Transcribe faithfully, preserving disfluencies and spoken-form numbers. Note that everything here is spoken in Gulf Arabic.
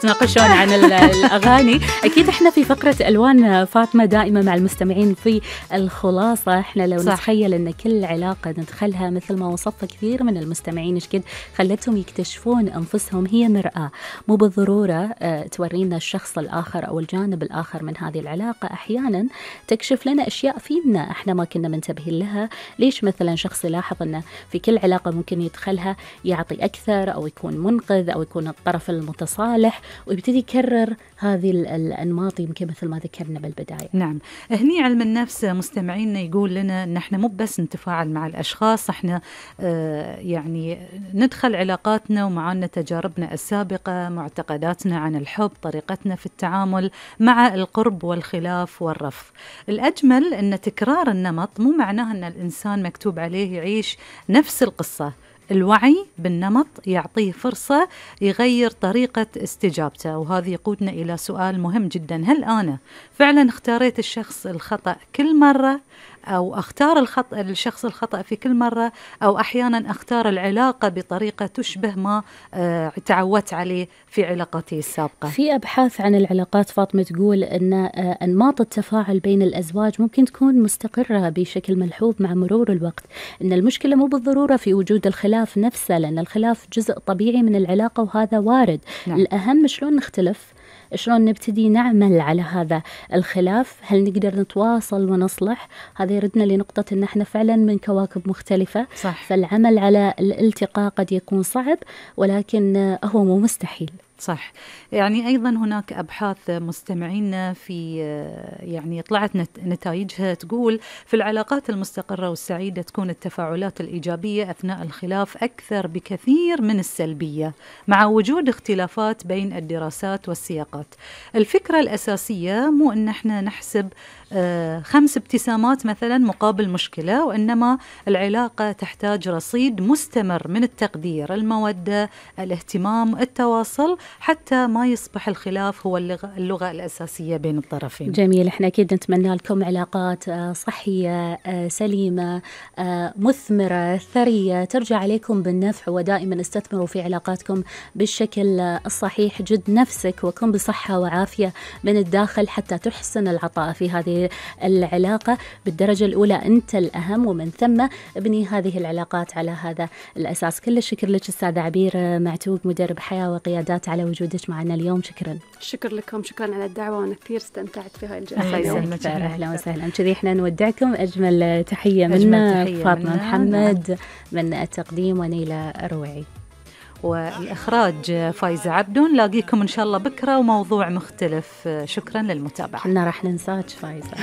تناقشون عن ال- الأغاني. أكيد إحنا في فقرة ألوان فاطمة دائما مع المستمعين في الخلاصة. إحنا لو صح. نتخيل أن كل علاقة ندخلها مثل ما وصف كثير من المستمعين إيش قد خلتهم يكتشفون أنفسهم هي مرآة، مو بالضرورة تورينا الشخص الآخر أو الجانب الآخر من هذه العلاقة. أحيانا تكشف لنا أشياء فينا إحنا ما كنا منتبهين لها. ليش مثلا شخص يلاحظ أنه في كل علاقة ممكن يدخلها يعطي أكثر أو يكون منقذ أو يكون الطرف المتصالح، ويبتدي يكرر هذه الأنماط يمكن مثل ما ذكرنا بالبداية. نعم، هني علم النفس مستمعينا يقول لنا أن احنا مو بس نتفاعل مع الأشخاص، احنا آه يعني ندخل علاقاتنا ومعانا تجاربنا السابقة، معتقداتنا عن الحب، طريقتنا في التعامل مع القرب والخلاف والرفض. الأجمل أن تكرار النمط مو معناها أن الإنسان مكتوب عليه يعيش نفس القصة. الوعي بالنمط يعطيه فرصة يغير طريقة استجابته، وهذا يقودنا إلى سؤال مهم جدا: هل أنا فعلا اختاريت الشخص الخطأ كل مرة، أو أختار الخطأ الشخص الخطأ في كل مرة، أو أحيانا أختار العلاقة بطريقة تشبه ما آه تعودت عليه في علاقتي السابقة؟ في أبحاث عن العلاقات فاطمة تقول أن آه أنماط التفاعل بين الأزواج ممكن تكون مستقرة بشكل ملحوظ مع مرور الوقت. أن المشكلة مو بالضرورة في وجود الخلاف نفسه، لأن الخلاف جزء طبيعي من العلاقة وهذا وارد. نعم. الأهم شلون نختلف، شلون نبتدي نعمل على هذا الخلاف، هل نقدر نتواصل ونصلح. هذا يردنا لنقطة أن احنا فعلا من كواكب مختلفة. صح. فالعمل على الالتقاء قد يكون صعب، ولكن هو مو مستحيل. صح. يعني أيضا هناك أبحاث مستمعين في يعني طلعت نتائجها تقول في العلاقات المستقرة والسعيدة تكون التفاعلات الإيجابية أثناء الخلاف أكثر بكثير من السلبية، مع وجود اختلافات بين الدراسات والسياقات. الفكرة الأساسية مو أن احنا نحسب آه خمس ابتسامات مثلا مقابل مشكلة، وإنما العلاقة تحتاج رصيد مستمر من التقدير، المودة، الاهتمام، التواصل، حتى ما يصبح الخلاف هو اللغة, اللغة الأساسية بين الطرفين. جميل. احنا أكيد نتمنى لكم علاقات صحية سليمة مثمرة ثرية ترجع عليكم بالنفع، ودائما استثمروا في علاقاتكم بالشكل الصحيح. جد نفسك وكن بصحة وعافية من الداخل حتى تحسن العطاء في هذه العلاقة بالدرجة الأولى. أنت الأهم، ومن ثم ابني هذه العلاقات على هذا الأساس. كل الشكر لك أستاذة عبير معتوق، مدرب حياة وقيادات، على وجودك معنا اليوم. شكرا. شكر لكم، شكرا على الدعوة، وأنا كثير استمتعت في هاي الجلسة. الله يسلمك. أهلا وسهلا. كذي احنا نودعكم. أجمل تحية منا فاطمة محمد من التقديم، ونيلة الرويعي والإخراج فايزة عبدون. نلاقيكم إن شاء الله بكرة وموضوع مختلف. شكرا للمتابعة. احنا راح ننساك فايزة.